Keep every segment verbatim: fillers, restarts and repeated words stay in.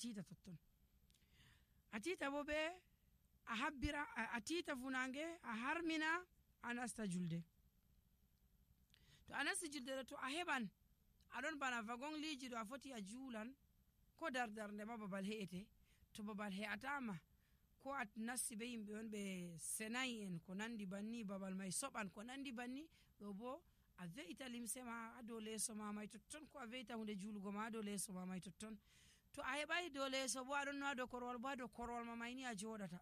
tita totton a tita bo be a habbira a tita funange a harmina a nasta julde to a nasti julde to a heban aɗon bana wagon liji ɗo a foti a juulan ko dardarde ma babal he'ete to babal he'atama ko a nasti be yimɓe on ɓe senayi en ko nandi banni babal mai soɓan ko nandi banni ɗo bo a ve'ita limse ma ha dow leeso ma mai totton ko a ve'ita hunde julugo ma ha dow leeso ma mai totton to a heɓai dow leeso bo aɗon no ha dow korwal bo ha dow korwal ma mai ni a joɗata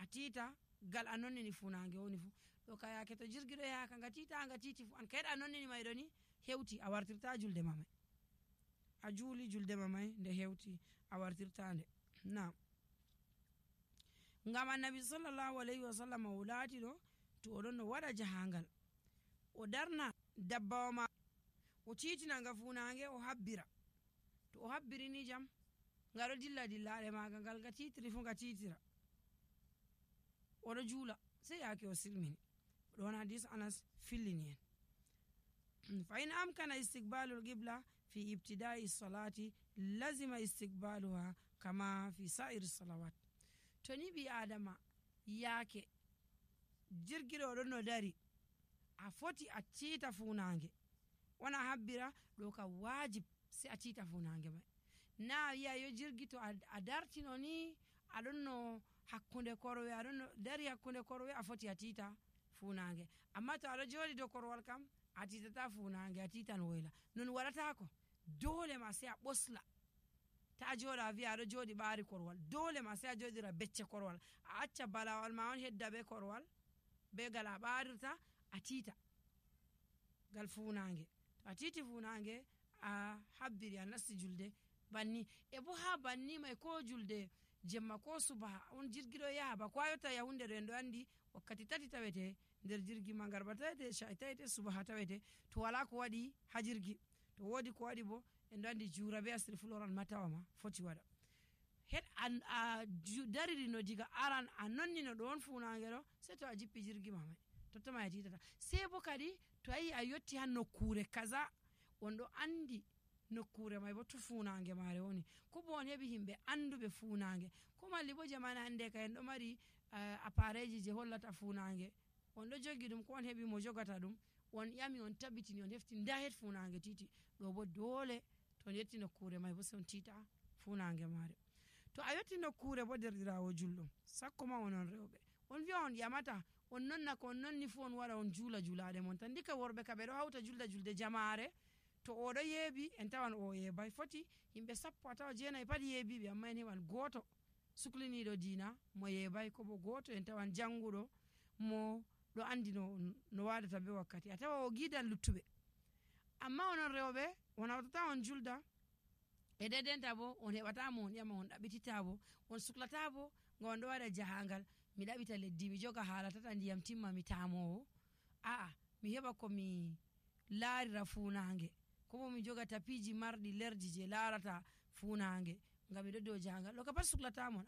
a tita gal a nonnini funange woni fu ɗo ka yake to jirgi ɗo yaka nga tita nga titi fu an kayɗa a nonnini mai ɗo ni hewti a wartirta julde ma mai a juuli julde ma mai nde hewti a wartirta nde na ngam annabi sallallahu alayhi wa sallam o laati ɗo to oɗon no waɗa jahangal o darna dabbawa ma o titina nga funange o habbira to o habbiri ni jam nga ɗo dilla dillaɗe maga ngal nga titiri fu nga titira oɗo juula sey yake o silmini ɗon hadis anas fillini en fa in amkana istiqbalu lqibla fi ibtidai salati lazima istiqbaluha kama fi sa'iri salawat to ni ɓi adama yake jirgiɗo oɗon no dari a foti a tita funange wona habbira ɗo ka wajib sai a tita funange mai na wiya yo jirgi to a dartino ni aɗon no hakkunde korwe aɗon no dari hakkunde korwe a foti a tita funange amma to aɗo joɗi dow korwal kam a titata funange a titan woyla non waɗatako dole ma sai a ɓosla ta joɗa a wiya aɗo joɗi ɓaari korwal dole ma sai a joɗira becce korwal a acca balawal ma on hedda be korwal be gal a ɓarirta a tita gal funange to a titi funange a habbiri a nasti julde banni e bo ha banni mai ko julde jemma ko subaha on jirgi ɗo yaha ba ko a yotta yahunde ɗo en ɗo andi wakkati tati tawete nder jirgi ma garba tawete sha'i tawete subaha tawete to wala ko waɗi ha jirgi to wodi ko waɗi bo en ɗo andi jura be asiri fuloran matawa ma foti waɗa het a dariri no diga aran a nonnino ɗo on funange ɗo sei to a jippi jirgi ma mai tottoma a titata sei bo kadi to ayi a yotti ha nokkure kaza on ɗo andi nokkure mai bo to funange mare woni ko bo on heɓi himɓe anduɓe funange ko malli bo jamana hande ka en ɗo mari uh, appareji je hollata funange on ɗo jogi ɗum ko on heɓi mo jogata ɗum on ƴami on tabitini on hefti nda het funange titi ɗo bo dole to on yetti nokkure mai bo se on tita funange mare to a yetti nokkure bo derɗirawo julɗum sakko ma onon rewɓe on wiya on ƴamata on nonna ko on nonni fu on waɗa on juula julaɗe mon tan ndika worɓe ka ɓe ɗo hawta julda julde jamare to oɗo yeebi en tawan o yeebay foti yimɓe sappo a tawa jeenayi pat yeebiɓe amma en heɓan goto sukliniɗo diina mo yeebay ko bo goto en tawan janguɗo mo ɗo andi no, no waɗata be wakkati a tawa o gidan luttuɓe amma onon rewɓe on hawtata on julda e dedenta bo on heɓatamo on ƴama on ɗaɓɓitita bo on suklata bo nga on ɗo waɗa jahangal mi ɗaɓita leddi mi joga haala tata ndiyam timma mi tamowo aa mi heɓa komi laarira funange kobo mi joga tapiji marɗi lerji je larata funange ngam miɗo dow jahangal ɗo ka pat suklatamon